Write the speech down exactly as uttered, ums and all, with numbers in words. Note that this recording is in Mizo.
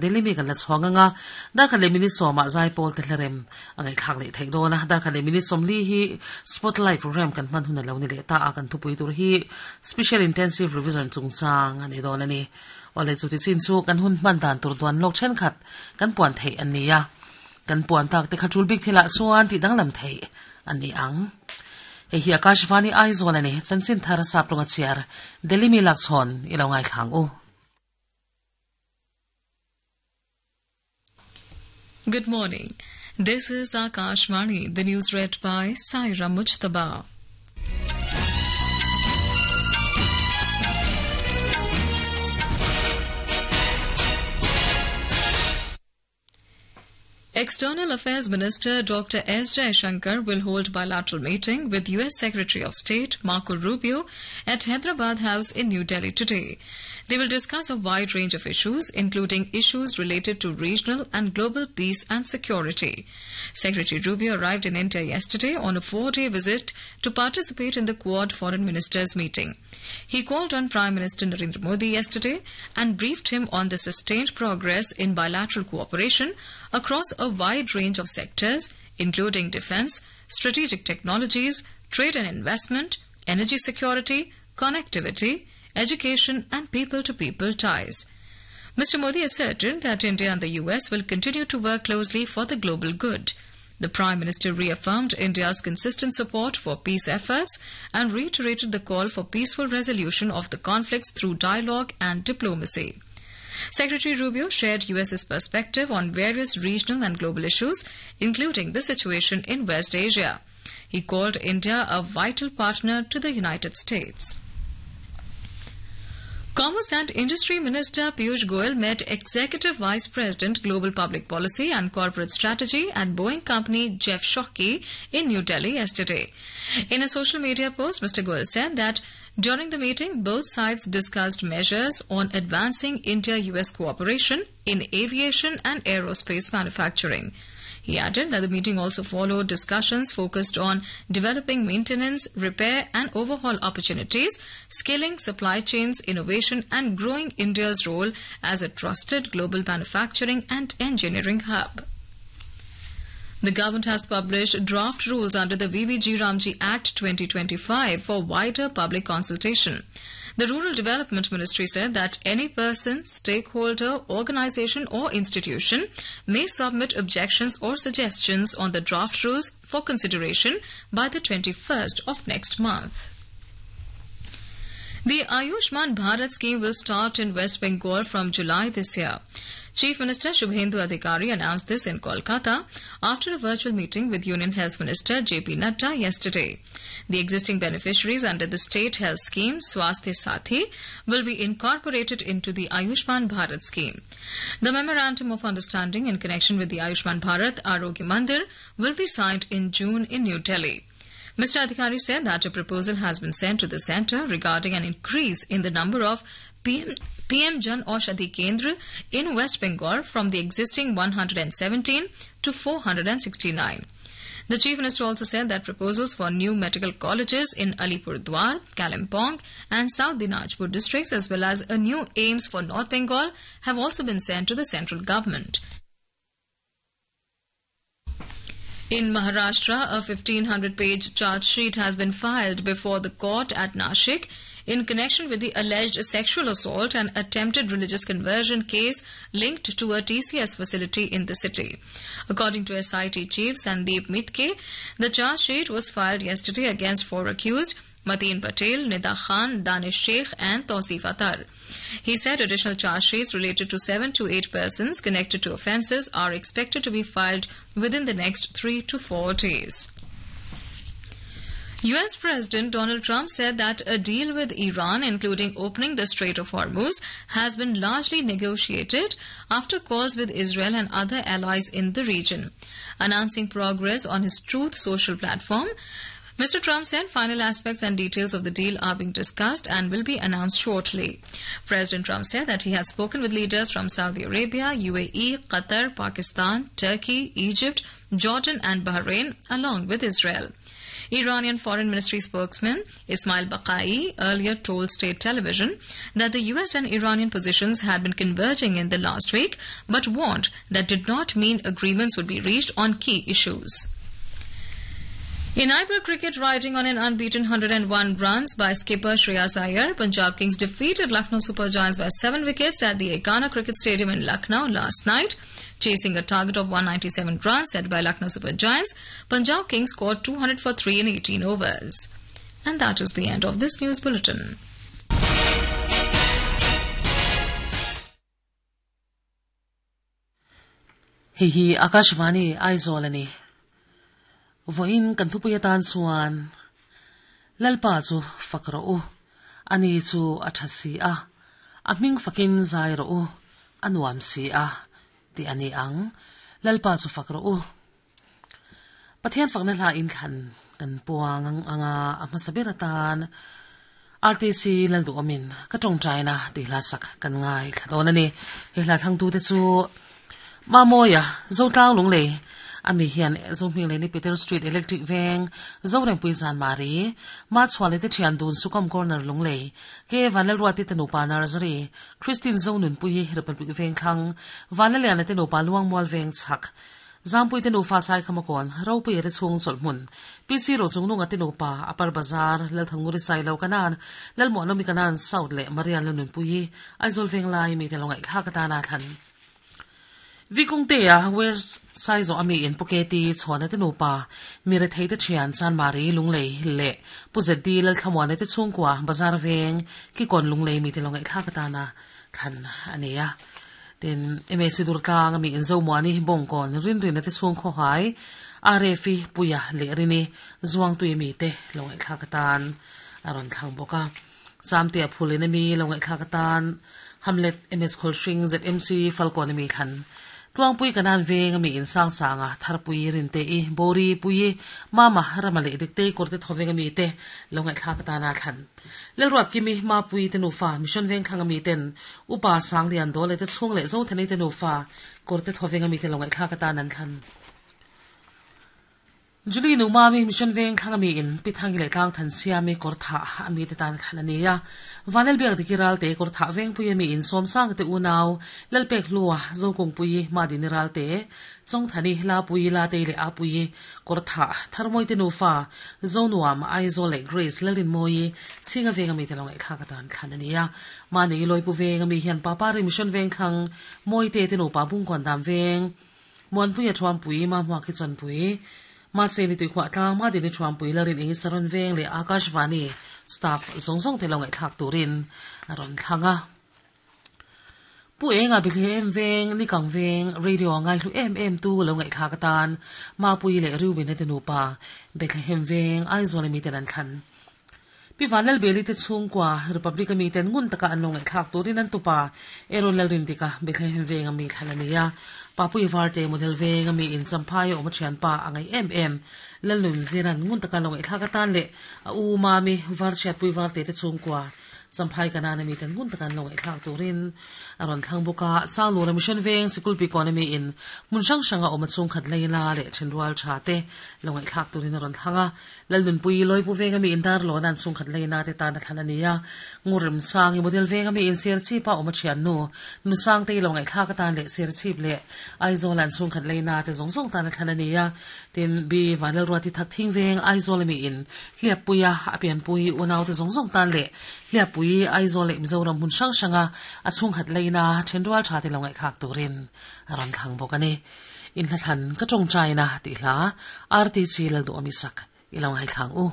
Delhi mi kan la chhawng anga dar khat leh minute sawmah zaipawl te hlarem a ngaihthlak leh theih dawn a dar khat leh minute sawmli hi spotlight program kan hman hun a lo ni leh ta a kan thupui tur hi special intensive revision chungchang a ni dawn a ni awle chu ti chin chu kan hun hman dan tur duan lawk thenkhat kan puan theih an ni a kan puan tak te kha tul bik thilah chuan tih danglam theih an ni ang hei hi Akashvani Aizawl a ni chanchin thar sap tawnga chhiar Delhi mi lak chhawn i lo ngaithlang u. Good morning. This is Akashvani, the news read by Saira Mujtaba. External Affairs Minister Doctor S. Jaishankar will hold bilateral meeting with U S Secretary of State Marco Rubio at Hyderabad House in New Delhi today. They will discuss a wide range of issues, including issues related to regional and global peace and security. Secretary Rubio arrived in India yesterday on a four-day visit to participate in the Quad Foreign Ministers meeting. He called on Prime Minister Narendra Modi yesterday and briefed him on the sustained progress in bilateral cooperation across a wide range of sectors, including defense, strategic technologies, trade and investment, energy security, connectivity, education and people-to-people ties. Mister Modi asserted that India and the U S will continue to work closely for the global good. The Prime Minister reaffirmed India's consistent support for peace efforts and reiterated the call for peaceful resolution of the conflicts through dialogue and diplomacy. Secretary Rubio shared U S's perspective on various regional and global issues, including the situation in West Asia. He called India a vital partner to the United States. Commerce and Industry Minister Piyush Goyal met Executive Vice President Global Public Policy and Corporate Strategy at Boeing Company Jeff Shockey in New Delhi yesterday. In a social media post, Mister Goyal said that during the meeting, both sides discussed measures on advancing India-U S cooperation in aviation and aerospace manufacturing. He added that the meeting also followed discussions focused on developing maintenance, repair and overhaul opportunities, scaling supply chains, innovation and growing India's role as a trusted global manufacturing and engineering hub. The government has published draft rules under the V B G Ramji Act twenty twenty-five for wider public consultation. The Rural Development Ministry said that any person, stakeholder, organization or institution may submit objections or suggestions on the draft rules for consideration by the twenty-first of next month. The Ayushman Bharat scheme will start in West Bengal from July this year. Chief Minister Shubhendu Adhikari announced this in Kolkata after a virtual meeting with Union Health Minister J P Nadda yesterday. The existing beneficiaries under the state health scheme, Swasthya Sathi, will be incorporated into the Ayushman Bharat scheme. The Memorandum of Understanding in connection with the Ayushman Bharat Arogya Mandir will be signed in June in New Delhi. Mister Adhikari said that a proposal has been sent to the centre regarding an increase in the number of P M, P M Jan Aushadhi Kendra in West Bengal from the existing one hundred seventeen to four hundred sixty-nine. The Chief Minister also said that proposals for new medical colleges in Alipurduar, Kalimpong and South Dinajpur districts as well as a new A I M S for North Bengal have also been sent to the central government. In Maharashtra, a fifteen hundred page charge sheet has been filed before the court at Nashik in connection with the alleged sexual assault and attempted religious conversion case linked to a T C S facility in the city. According to S I T Chief Sandeep Mitke, the charge sheet was filed yesterday against four accused, Mateen Patel, Nida Khan, Danish Sheikh and Tausif Atar. He said additional charge sheets related to seven to eight persons connected to offences are expected to be filed within the next three to four days. U S President Donald Trump said that a deal with Iran, including opening the Strait of Hormuz, has been largely negotiated after calls with Israel and other allies in the region. Announcing progress on his Truth Social platform, Mister Trump said final aspects and details of the deal are being discussed and will be announced shortly. President Trump said that he had spoken with leaders from Saudi Arabia, U A E, Qatar, Pakistan, Turkey, Egypt, Jordan and Bahrain, along with Israel. Iranian Foreign Ministry spokesman Ismail Baqai earlier told state television that the U S and Iranian positions had been converging in the last week, but warned that did not mean agreements would be reached on key issues. In I P L cricket, riding on an unbeaten one hundred and one runs by skipper Shreyas Iyer, Punjab Kings defeated Lucknow Super Giants by seven wickets at the Ekana Cricket Stadium in Lucknow last night. Chasing a target of one hundred ninety-seven runs set by Lucknow Super Giants, Punjab Kings scored two hundred for three in eighteen overs. And that is the end of this news bulletin. Hei hi Akashvani Aizawl ani. Voin kan thupuia tan chuan Lalpa chu fakro u ani chu a tha si a a hming fakin zai ro u anuam si a ti ani ang Lalpa chu fakro u Pathian fakna hla in thlan kan puang ang anga a hmasabir atan R T C laldu omin ka tong chaina ti hla sak kan ngai thladon ani he hla thang tu te chu Mamoya Zotlang Lunglei ami hian zoming le ni Peter Street Electric Veng Zorem pui zan mari ma chwale te thian dun Sukom Corner Lunglei ke vanel ruati te nupa Nursery Christine Zonun pui Republic Veng thlang vanel lian te nupa Luang Mual Veng chak Zampui te nufa sai khamakon ropui re chung cholhmun P C ro chungnunga te nupa Upper Bazar Lalthanguri sai lo kanan Lalmo nomi kanan South le Marian Lanun pui Aizawl Veng lai mi te longai kha ka ta na than Vikung te a West Saizo ami in Puketi chona te nupa mire thei te thian chan mari lunglei le puzedi lal thamwane te chungkwa Bazar Veng ki kon lunglei mi te longai thla ka ta na khan ania tin M S Durtlang ami in Zomwani bongkon rin rin te chung kho hai R F puya le rini zuang tui mi te longai thla ka tan aron thang boka chamte phulin mi longai thla ka tan Hamlet M S Kholshing Z M C Falcon mi khan Tuang pui kanan veng mi in sang sanga thar pui rin te i bori pui mama ramale dik te korte thoveng mi te longai thla ka ta na than lelruat kimi ma pui te nufa mission veng khang mi ten upa sang lian dole te chung le zo thani te nufa korte thoveng mi te longai thla ka ta nan than Julie nu mami mission veng khang mi in pithangi le tlang than sia mi kor tha ami te tan khan ania vanel biak dikiral te kor tha veng pui mi in som sang te unaw lalpek luwa zokong pui ma diniral te chong thani la pui la te le a pui kor tha tharmoi te nufa zonuam Aizawl le Grace lalin moi chinga veng ami te long kha ka tan khan ania ma nei loi pu veng ami hian papa ri mission veng khang moi te te nu pa bung kon dam veng mon pui a thuam pui ma hwa ki chon pui ma se ni tui khwa tlang ma din thuam pui larin eng saron veng le Akashvani staff zongzong te longai thak turin aron thanga pu enga bilhem veng ni kang veng radio ngai hlu em em tu longai thak tan ma pui le ruben te nupa Bethlehem veng Aizawl mi ten an khan pi vanel beli te chungkwa Republic mi ten ngun taka an longai thak turin an tupa eron lalrin tika Bethlehem veng ami thalania Papui varte model veng ami in champhai om thian pa angai em em lalun ziran ngun taka longai thak tan le a u mami var chat pui varte te chungkwa champhai kana mi ten ngun taka longai thak turin aron thang buka sanglu mission veng sikul pi economy in mun sang sanga om chung khat leila le thenrual tha te longai thak turin aron thanga lalun pui loi pu veng ami in dar lo nan chung khat leina te tan thalania ngurim sang i model veng ami in ser chi pa om thian nu nu sang te longai thak tan le ser chip le Aizawl an chung khat leina te zong zong tan thalania tin bi vanel ruati thak thing veng Aizawl mi in hliap puya apian pui unaw te zong zong tan le hliap pui Aizawl le Mizoram hun sang sanga a chung khat leina thenrual tha te longai khak turin aron thang bokani in hla than ka tong chaina ti hla R T C lal du ami sak ilong hai thang u.